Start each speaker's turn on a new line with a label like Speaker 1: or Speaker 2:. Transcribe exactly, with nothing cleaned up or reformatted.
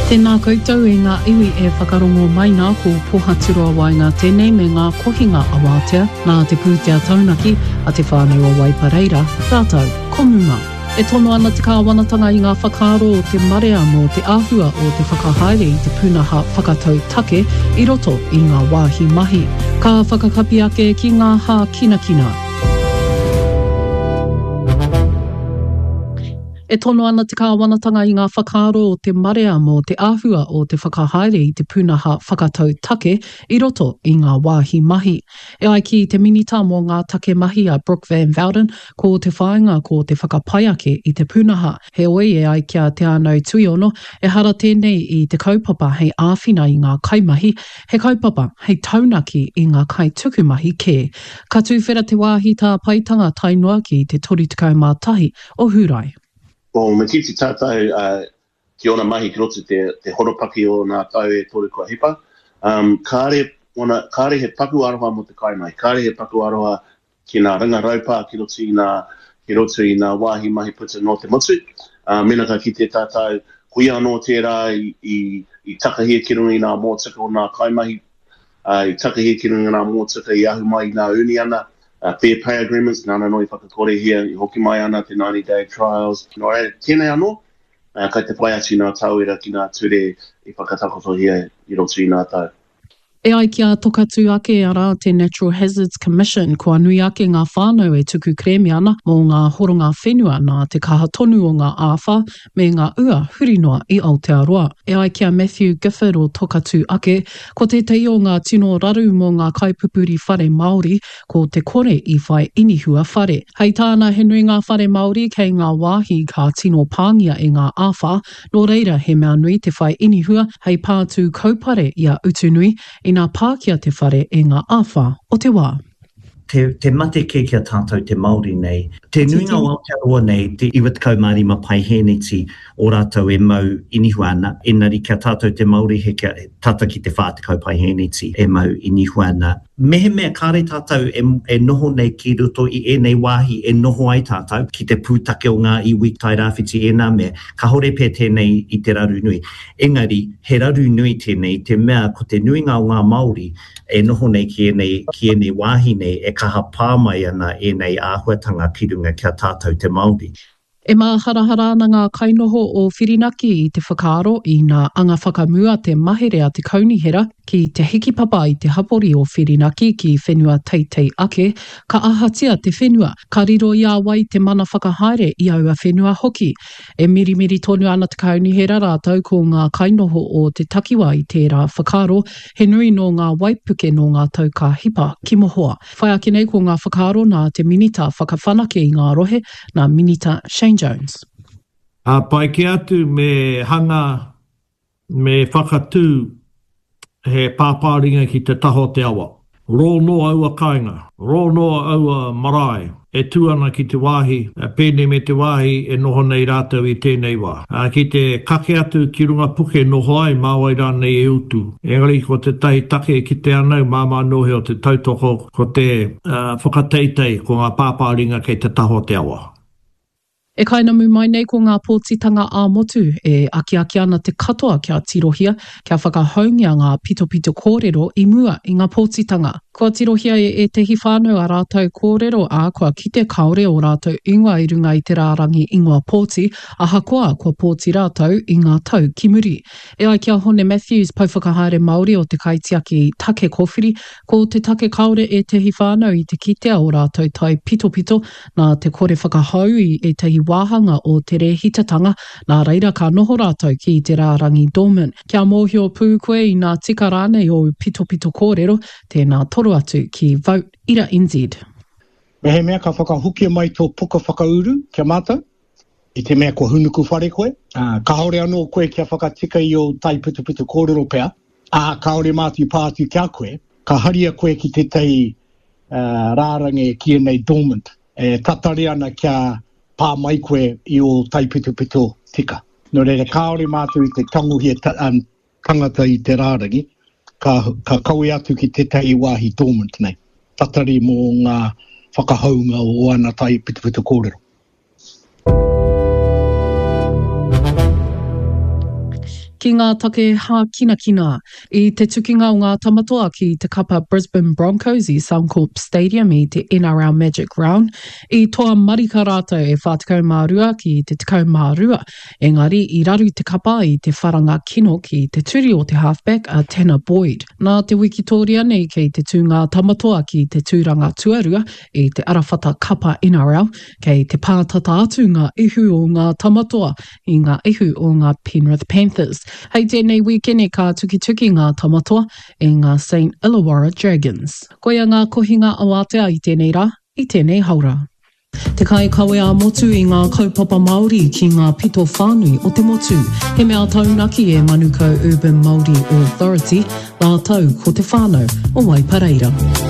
Speaker 1: Tēnā koutou e ngā iwi e whakarongo mai nā ko Pohaturoa Waenga tēnei me ngā kohinga awātea nā te pūtea taunaki a Te Whānau o Waipareira rātou ko Muma. E tono ana te kāwanatanga i ngā whakaaro o te marea mō te āhua o te whakahaere i te pūnaha whakatau take i roto i ngā wāhi mahi. Ka whakakapi ake ki ngā hākinakina. E tono ana te kāwanatanga i ngā whakaaro o te marea mō te āhua o te whakahaere i te pūnaha whakatau take i roto i ngā wāhi mahi. E ai ki te Minita mō ngā Take Mahi a Brooke Van Velden, ko te whāinga ko te whakapai ake i te pūnaha. Heoi, e ai ki a Te Anau Tuiono, ehara tēnei i te kaupapa hei āwhina i ngā kaimahi, he kaupapa hei taunaki i ngā kaitukumahi kē. Ka tuwhera te wāhi tāpaetanga tae noa ki te toru tekau mā tahi o Hūrae.
Speaker 2: Ko me kite tātou uh, ki ōna mahi ki roto te, te horopaki o nā tau e toru kua hipa, um, kāre, ona, kāre he paku aroha mō te kaimahi, kāre he paku aroha ki nā ringa raupā ki roto i nā, ki roto i nā wāhi mahi puta nō te motu. Uh, mena ka kite tātou, ko ia anō tērā i, i, i takahia ki runga i nā mōtika o nā kaimahi, uh, i takahia ki runga i nā mōtika i ahu mai i nā uniana, Uh, fair pay agreements, nāna anō i whakakorehia, i hoki mai ana te ninety day trials. Nō reira, tēnei anō, uh, kai te whai atu nā tauira ki nā ture i whakatakotohia i roto i nā tau.
Speaker 1: E ai ki a Tokatū ake, arā te Natural Hazards Commission, kua nui ake ngā whānau e tuku kerēme ana mō ngā horonga whenua nā te kaha tonu o ngā āwhā me ngā ua huri noa i Aotearoa. E ai ki a Matthew Gifford o Tokatū ake, ko tētahi o ngā tino raru mō ngā kaipupuri whare Māori ko te kore i whai inihua whare. Hei tāna, he nui ngā whare Māori kei ngā wāhi ka tino pāngia e ngā āwhā, nō reira he mea nui te whai inihua hei pātū kaupare i a Utunui ina pākia te whare e ngā āwhā o te wā.
Speaker 3: Te, te mate kē ki a tātou te Māori nei, te nuinga o Aotearoa nei, te iwa tekau mā rima paihēneti o rātou e mau inihua ana, engari ki a tātou te Māori he kia tata ki te whā tekau paihēneti e mau inihua ana. Mehemea kāre tātou e, e noho nei ki roto i ēnei wāhi e noho ai tātou, ki te pūtake o ngā iwi Tairāwhiti ēnā mea, kāore pea tēnei i te raru nui. Engari, he raru nui tēnei i te mea ko te nuinga o ngā Māori e noho nei ki ēnei, ki ēnei wāhi nei e kaha pā mai ana ēnei āhuatanga ki runga ki a tātou te Māori.
Speaker 1: E māharahara ana ngā kainoho o Whirinaki i te whakaaro ina anga whakamua te mahere a te kaunihera ki te hikipapa i te hapori o Whirinaki ki whenua teitei ake, ka ahatia te whenua, ka riro i a wai te mana whakahaere i aua whenua hoki. E mirimiri tonu ana te kaunihera rātou ko ngā kainoho o te takiwā i tērā whakaaro, he nui nō ngā waipuke nō ngā tau ka hipa ki mohoa. Whai ake nei ko ngā whakaaro nā te Minita whakawhanake i ngā rohe, nā Minita Shane Jones.
Speaker 4: Ā, pai kē atu me hanga, me whakatū he pāpāringa ki te taha o te awa. Rō noa aua kāinga, rō noa aua marae e tū ana ki te wāhi, pēnei me te wāhi e noho nei rātou i tēnei wā. Ā, ki te kake atu ki runga puke noho ai, mā wai rānei e utu. Engari ko tētahi take e kite ana au, māmā noa he o te tautoko, ko te whakateitei, ko ngā pāpāringa kei te taha o te awa.
Speaker 1: E kainamu mai nei ko ngā pōtitanga ā-motu e akiaki ana te katoa kia tirohia, kia whakahoungia ngā pitopito kōrero i mua i ngā pōtitanga. Kua tirohia e ētehi whānau ā rātou kōrero, ā, kua kite kāore ō rātou ingoa i runga i te rārangi ingoa pōti, ahakoa kua pōti rātou i ngā tau ki muri. E ai ki a Hone Matthews, Pouwhakahaere Māori o te Kaitiaki Take Kōwhiri, ko te take kāore ētehi whānau i te kitea ō rātou taipitopito nā te kore whakahou i ētahi wāhanga o te rēhitatanga, nā reira ka noho rātou ki te rārangi dormant. Kia mōhio pū koe inā tika rānei ōu pitopito kōrero, tēnā toro atu ki Vote Ira N Z.
Speaker 5: Mehemea ka whakahokia mai tō puka whakauru ki a mātou, i te mea kua hunuku whare koe, ā, kāore anō koe kia whakatika i ō taipitopito kōrero pea, ā, kāore mātou i pā atu ki a koe, ka haria koe ki tētahi rārangi e kīia nei dormant, e tatari ana kia pā mai koe i ō taipitopito tika. Nō reira, kāore mātou i te tangohia tangata i te rārangi, ka, ka kawe atu ki tētahi wāhi dormant nei, tatari mō ngā whakahounga o ana taipitopito kōrero.
Speaker 1: Ki ngā take hākinakina, i te tukinga o ngā Tamatoa ki te kapa Brisbane Broncos i Suncorp Stadium i te NRL Magic Round, i toa marika rātou e whā tekau mā rua ki te tekau mā rua, engari i raru te kapa i te wharanga kino ki te turi o te halfback a Tanner Boyd. Nā te wikitōria nei kei te tū ngā Tamatoa ki te tūranga tuarua i te arawhata kapa NRL, kei te pātata atu ngā ihu o ngā Tamatoa i ngā ihu o ngā Penrith Panthers. Hei tēnei wīkene ka tukituki ngā Tamatoa i ngā St Illawarra Dragons. Koia ngā kohinga awātea i tēnei rā, i tēnei haora. Te kaikawe ā-motu i ngā kaupapa Māori ki ngā pito whānui o te motu. He mea taunaki e Manukau Urban Māori Authority rātou ko te whānau o Waipareira.